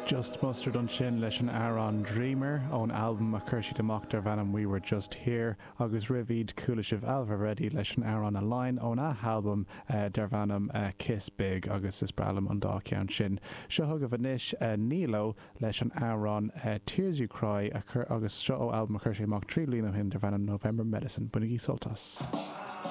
Just Mustard ansin leis an amhrán Dreamer ón albam a chuir siad amach darb ainm We Were Just Here agus roimh iad chuala sibh Ailbhe Reddy leis an amhrán Align ón athalbam darb ainm Kiss Big agus is breá liom an dá cheann sin. Seo chugaibh anois Nilo leis an amhrán Tears You Cry a chur agus seo ó albam a chuir sé amach 3 bliana ó shin darb ainm November Medicine. Bainigí sult as.